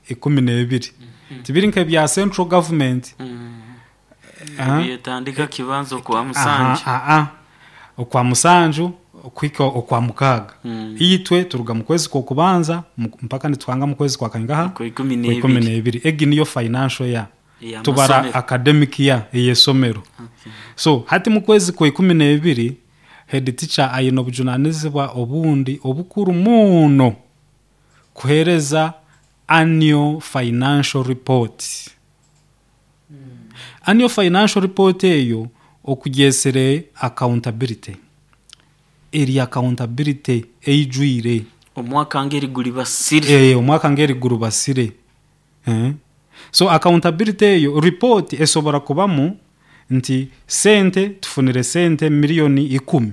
12. Tibiri nk'ebya central government. Byetandika kibanza okwa 7. Aha, okwa 7 okuhika okwa 6. Itwe turuga mu kwezi kw'okubanza mpaka nituhanga mu kwezi kwa kaingaha? Kwa ikumi Kwa ikumi n'ebiri. N'ebiri. Egi niyo financial year. Tubara Ey'amasomero. Academic year ey'esomero. So hati mu kwezi kwa 12 head teacher aine obujunanizibwa obundi obukuru muno, kuheereza annual financial report. Annual financial report eyo okugyesere accountability, eri accountability eijwire. Omwaka ngeri gulibasire. Omwaka ngeri gurubasire. So accountability eyo report esobora kubamu nti sente tufunire sente miliyoni 10,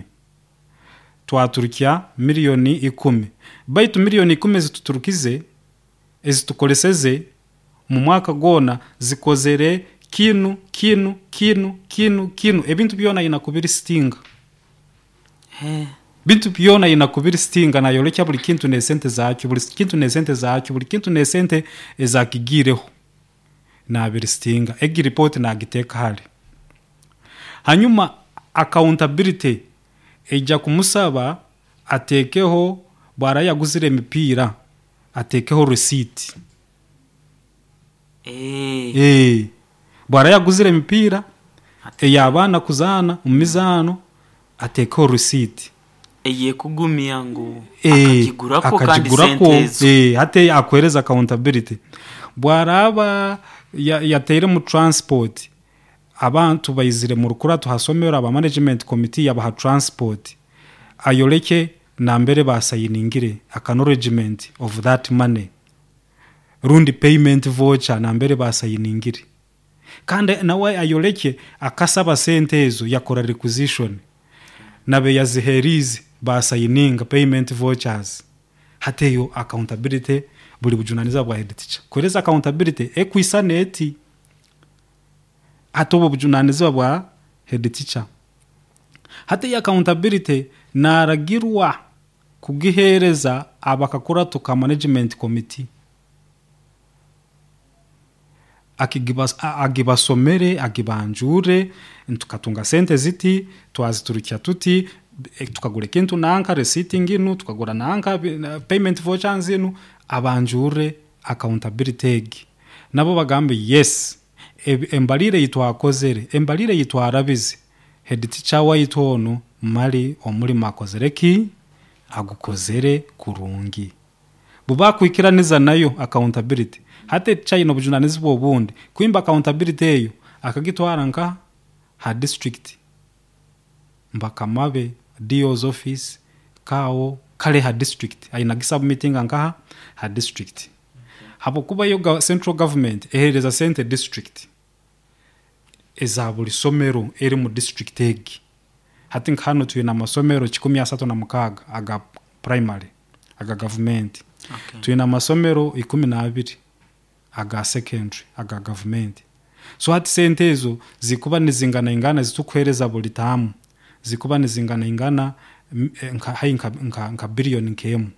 twaturukya miliyoni 10, baitu miliyoni 10 ezituturukize, ezitukoleseze mu mwaka gwona, zikozere kinu, kinu, kinu, kinu, kinu. Ebintu byona aina kubilistinga. Bintu byona aina kubilistinga, nayolekya buli kintu n'esente zaakyo, buli kintu n'esente zaakyo, buli kintu n'esente ezakigiireho, nabilistinga. Egi report nagiteeka hali. Hanyuma accountability ejya kumusaba ateekeho bwara yaguzire emipiira, ateekeho receipt. Bwara yaguzire emipiira ey'abaana kuzaana omu mizaano, ateekeho receipt. Eyekugumya ngu akagigurako kandi akagigurako. Sente ezo. Hati akuhereza accountability. Bwaraaba yateiremu transport, abantu baizire mu rukurato ha somero, aba management committee yabaha transport, ayoleke nambere basayiningire acknowledgement of that money, rundi payment voucher nambere basayiningire. Kandi nawe ayoleke akasaba sente ezo, yakora requisition, nabe yaziherize basayininga payment vouchers. Hati eyo accountability buli bujunanizibwa bwa head teacher kuhereza accountability ekwisana eti. Hati obwo bujunanizibwa bwa head teacher. Hati eyo accountability naragirwa kugihereza abakakurato ka management committee. Agibasomere, agibanjure: tukatunga sente ziti, twaziturukya tuti, tukagura ekintu nanka, receipt nginu, tukagura nanka, payment voucher nzinu. Abanjure accountability egi, nabo bagambe yes, embalire ei twakozere, embalire ei twarabize, head teacher waitu onu mali omulimo akozere ki? Agukozere kurungi. Bubakwikiraniza nayo accountability, hati teacher aine obujunanizibwa obundi kwimba accountability eyo akagitwara nka ha district, mbakamabe, DO's office kaawo kale ha district, aina gisubmitinga nkaha? Ha district, habwokuba yo central government ehereza sente district eza buli somero eri mu district egi. Hati nka hanu twine amasomero 136 aga primary aga gavumenti. Twine amasomero 12 aga secondary aga gavumenti. So hati sente ezo zikuba nizinganaingana zitukuhereza buli taamu, zikuba nizinganaingana hai nka biliyoni nk'emu.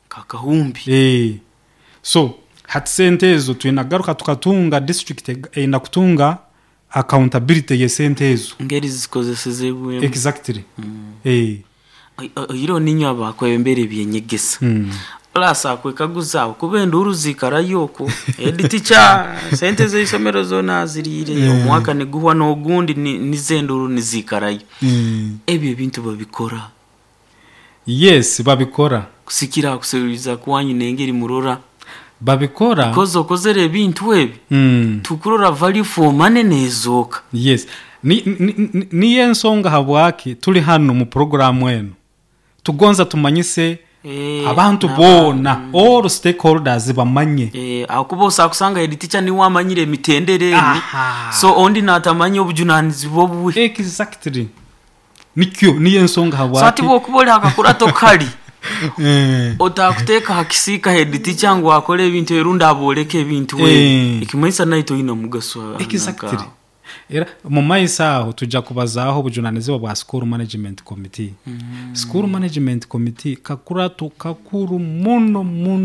Kakahumbi. So hati sente ezo twina kugaruka tukatunga, district eina kutunga accountability y'esente ezo. Ngeri zikozesezebwemu. Exactly. Oihireho niinywe abakwebembera ebyenyegesa, plus akwekaguza aho kuba enduuru ziikarayo okwo, head teacher sente z'eisomero zoona aziriire, omwaka niguhwa n'ogundi, nizo enduuru niziikarayo. Ebyo ebintu babikora? Yes, babikora. Kusikira kuseruliza kwanyu n'engeri murora. Babikora. Because okozere ebintu ebi, tukurora value for money nezooka. Yes, niyo ensonga habwaki tuli hanu mu programu enu, tugonza tumanyise abantu boona, all stakeholders bamanye. Ahakuba osobola kusanga head teacher niwe amanyire emitendera enu, so ondi natamanya obujunanizibwa obwe. Exactly, nikyo niyo ensonga So hati habwaki. bwokuba oli hakakurato kali, otakuteeka ha kisiika head teacher ngu akole ebintu ebi rundi aboleke ebintu ebi, ekimanyisa naitwe toine mugaso. Exactly. Era mu maiso aho tujja kubazaaho obujunanizibwa bwa school management committee. School management committee kakurato kakuru muno muno.